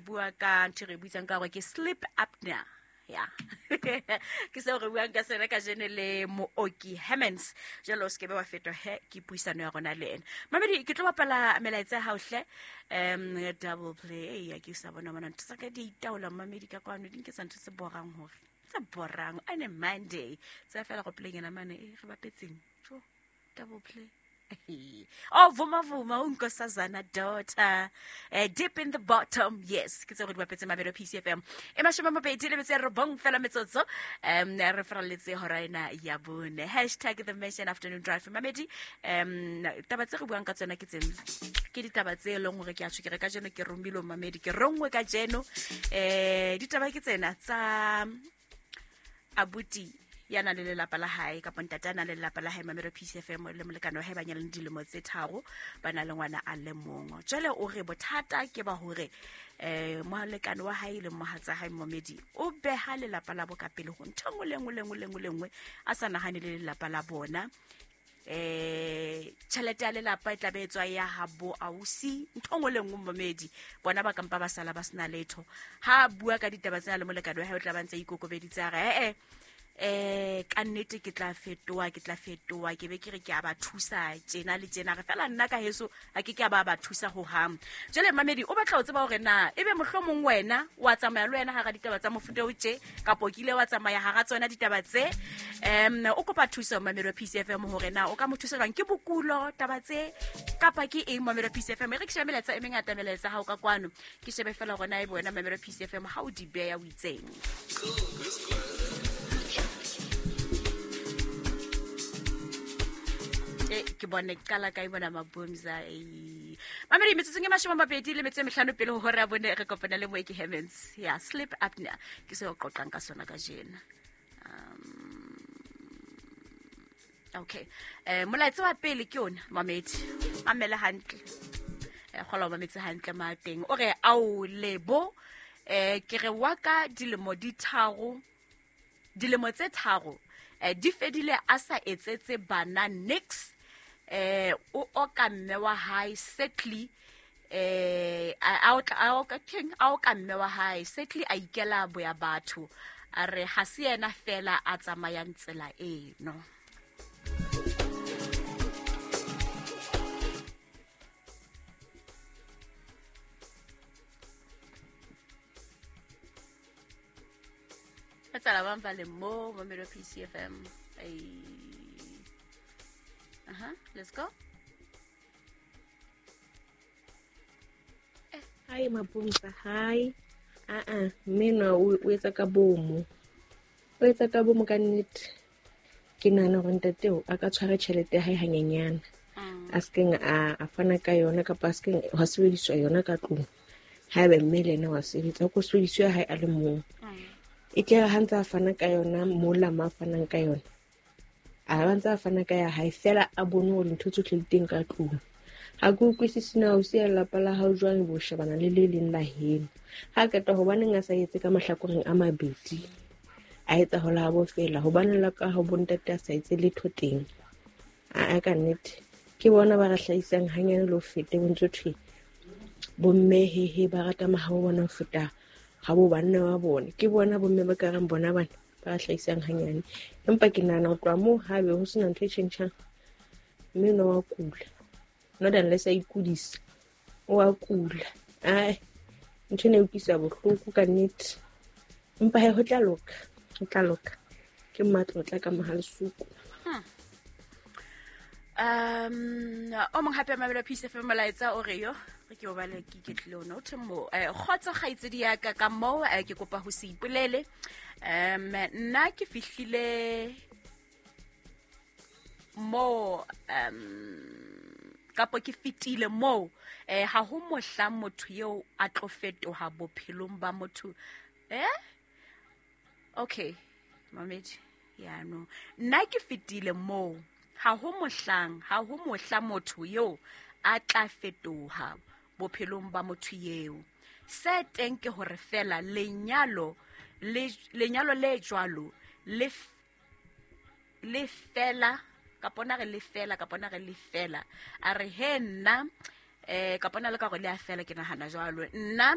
bua ka ntho e re buitsang ka gore ke sleep apnea. Ya, ke seo re buang ka sena kajeno le Mooki Hemmens. Jalo o sekebe wa fetwa he ke puisano ya rona le ena. Mamedi, ke tlo bapala melaetsa ya hao hle. Double play ya ke sa bona bona ntho tsa ka di itaola mamedi ka kwano, di nketsa ntho tse borang hore tse borang on a Monday. Tsa fela go playing mane e re bapetseng. Jo, double play. Oh, vuma vuma unkosazana daughter, deep in the bottom. Yes, ke tse go di bapetse mabelo PCFM e 29 fela metsotso. Re faralletse hora ena ya bone. Hashtag the Mission Afternoon Drive. Mamedi, taba tse re buang ka tsona ke tsena, ke ditaba tse e leng gore ke a tjho ke re kajeno ke romilwe mamedi, ke rongwe kajeno. Ditaba ke tsena tsa abuti ya nang le lelapa la hae kapa ntate a nang le lelapa la hae, Mamelo PCFM, le molekane wa hae ba nyalane dilemo tse 3, ba na le ngwana a le mong. Jwale o re bothata ke ba hore molekane wa hae le mohatsa hae momedi o beha lelapa la bo ka pele ho ntho nngwe le nngwe le nngwe le nngwe le nngwe, a sa nahane le lelapa la bona. Tjhelete ya lelapa e tla be e tswa ya ha bo ausi, ntho nngwe le nngwe momedi, bona ba kampa ba sala ba sena letho. Ha a bua ka ditaba tsena le molekane wa hae, o tla ba ntse a ikokobeditse a re, ka nnete ke tla fetoha, ke tla fetoha, ke be ke re ke a ba thusa tjena le tjena, re fela nna ka heso ha ke ke a ba ba thusa ho hang. Jwale mamedi, o batla ho tseba hore na ebe mohlomong wena wa tsamaya le wena hara ditaba tsa mofuta o tje, kapa o kile wa tsamaya hara tsona ditaba tse. O kopa thuso mamedi wa PCFM hore na o ka mo thusa jwang, ke bokulo taba tse kapa ke eng mamedi wa PCFM. E re ke shebe melaetsa e mengata, melaetsa hao ka kwano, ke shebe fela hore na ebe wena mamedi wa PCFM ha o di beya o itseng. Ke bone qala ka bona mabomza e. Mamedi, metsotsong e 25 pele ho hora ya bone re kopana le Mooki Hemmens ya sleep apnea, ke se o qoqang ka sona kajeno. Okay, molaetsa wa pele ke ona mamedi, mamele hantle. Kgola o mametse hantle ma teng. O re ao lebo, ke re wa ka dilemo di tharo, dilemo tse tharo, di fedile a sa etsetse bana nix. O oka mme wa hae setly, a otla, a oka keng, a oka mme wa hae setly, a ikela boya batho, a re ha se yena fela a tsamayang tsela eno. Re tsala bang ba le mo Mamelo PCFM. Ai. Aha, let's go. Hi Mabumsa, hi. Mme o etsa ka bomo. O etsa ka bomo ka nnete. Ke nahana hore ntate o a ka tshwara tjhelete ya hae hanyenyana. A sekeng a fana ka yona kapa a sekeng hwa sebediswa yona ka tlung. Haeba mme le yena wa sebetsa, ko sebediswa ya hae a le mong. E tle ha ntse a fana ka yona mola ma fanang ka yona. A ba ntse a fana ka ya hae fela a bone hore ntho tsohle di teng ka tlung. Ha ke utlwisise na o siya lelapa la hao jwang bo shebana le le leng la heno. Ha qeta hobaneng a sa etse ka mahlakoreng a mabedi, a etsa ho la bo fela, hobaneng la ka ho bontate a sa etse letho teng. A ka nnete ke bona ba re hlahisang hanyane le ho fete bo ntso thwe bomme hehe ba rata mahabo bona ho feta ha bo banna ba bona. Ke bona bomme ba ka reng bona bana ba hlahisang hanyane, empa ke nahana ho tloha moo haebe ho sena ntho e tjhentjhang, mme no wa kula, not unless a ikudisa, o a kula. Ai, ntho ena e utlwisa bohloko ka nnete, empa he ho tla loka, ho tla loka. Ke mmatlotla ka Mohalesuku. O mong hape Mamelo Peace FM molaetsa o re yo re ke o bale ke iketlile ona. O thwe mo, kgotso kgaitsedi ya ka ka moo, ke kopa ho se ipolele. Nna ke fihlile mo, kapo ke fetile moo, ha ho mohla motho eo a tlo fetoha bophelong ba motho. Okay, mamedi, ya no. Nna ke fetile moo, ha ho mohlang, ha ho mohla motho eo a tla fetoha bophelong ba motho eo. Se teng ke hore fela lenyalo le, lenyalo le jwalo le le fela, kapa ona re le fela, kapa ona re le fela. A re he nna, kapa ona le ka hore le a fela, ke nahana jwalo. Nna,